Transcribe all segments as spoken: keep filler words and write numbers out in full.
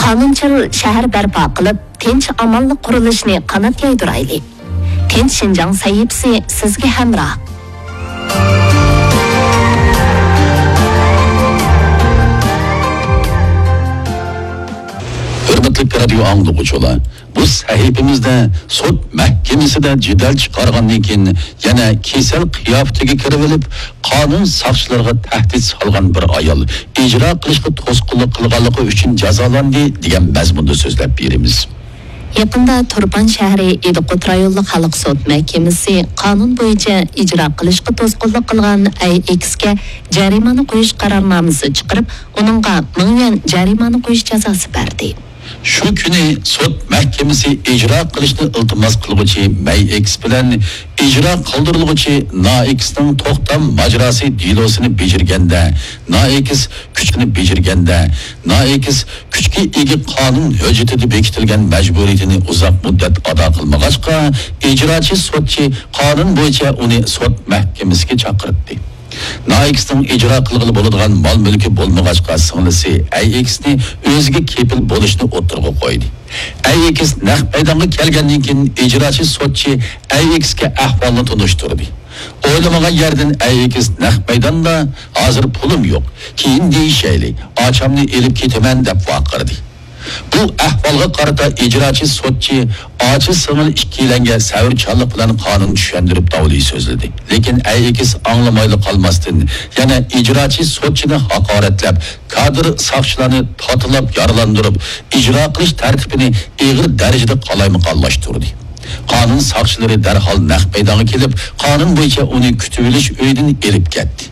قانۇنچىل شەھەر بەرپا قىلىپ، تىنچ-ئامانلىق قۇرۇلۇشىنى قانات يايدۇرايلى. تىنچ شىنجاڭ سەھىپىسى سىزگە ھەمراھ. ھۆرمەتلىك رادىيو ئاڭلىغۇچىلار، بۇ سەھىپىمىزدە سوت مەھكىمىسىدە جېدەل چىقارغاندىن كېيىن يەنە كېسەل قىياپىتىگە كىرىۋېلىپ، قانۇن ساقچىلىرىغا تەھدىت سالغان بىر ئايال ئىجرا قىلىشقا توسقۇنلۇق قىلغانلىقى ئۈچۈن جازالاندى، دېگەن مەزمۇندا سۆزلەپ بېرىمىز. يېقىندا تۇرپان شەھىرى ئىدىقۇت رايونلۇق خەلق سوت مەھكىمىسى قانۇن بويىچە ئىجرا قىلىشقا توسقۇنلۇق قىلغان ئەي ئېكسكە جەرىمانە قويۇش قارارنامىسى چىقىرىپ، ئۇنىڭغا مىڭ يۈەن جەرىمانە قويۇش جازاسى بەردى. شۇ كۈنى سوت مەھكىمىسى ئىجرا قىلىشنى ئىلتىماس قىلغۇچى مەي ئېكس بىلەن ئىجرا قىلدۇرۇلغۇچى نا ئېكسنىڭ توختام ماجىراسى دېلوسىنى بېجىرگەندە، نا ئېكس كۈچنى بېجىرگەندە، نا ئېكس كۈچكە ئىگە قانۇن ھۆججىتىدە بېكىتىلگەن مەجبۇرىيىتىنى ئۇزاق مۇددەت ئادا قىلمىغاچقا، ئىجراچى سوتچى قانۇن بويىچە ئۇنى سوت مەھكىمىسىگە چاقىرتتى. نائېكسنىڭ ئىجرا قىلغىلى بولىدىغان مال-مۈلكى بولمىغاچقا، سىڭلىسى ئەي ئېكسنى ئۆزىگە كېپىل بولۇشنى ئوتتۇرىغا قويدى. ئەي ئېكس نەق مەيدانغا كەلگەندىن كېيىن، ئىجراچى سوتچى ئەي ئېكسكە ئەھۋالنى تونۇشتۇردى. ئويلىمىغان يەردىن ئەي ئېكس نەق مەيداندا، «ھازىر پۇلۇم يوق، كېيىن دېيىشەيلى، ئاچامنى ئېلىپ كېتىمەن» دەپ ۋارقىرىدى. بۇ ئەھۋالغا قارىتا ئىجراچى سوتچى ئاچا-سىڭىل ئىككىيلەنگە سەۋرچانلىق بىلەن قانۇن چۈشەندۈرۈپ داۋلى سۆزلىدى. لېكىن ئەي ئېكس ئاڭلىمايلا قالماستىن، يەنە ئىجراچى سوتچىنى ھاقارەتلەپ، كادىر ساقچىلارنى تاتىلاپ يارىلاندۇرۇپ، ئىجرا قىلىش تەرتىپىنى ئېغىر دەرىجىدە قالايمىقانلاشتۇردى. قانۇن ساقچىلىرى دەرھال نەق مەيدانغا كېلىپ، قانۇن بويىچە ئۇنى كۈتۈۋېلىش ئۆيىدىن ئېلىپ كەتتى.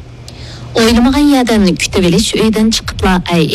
ئويلىمىغان يەردىن كۈتۈۋېلىش ئۆيىدىن چىقىپلا، ئەي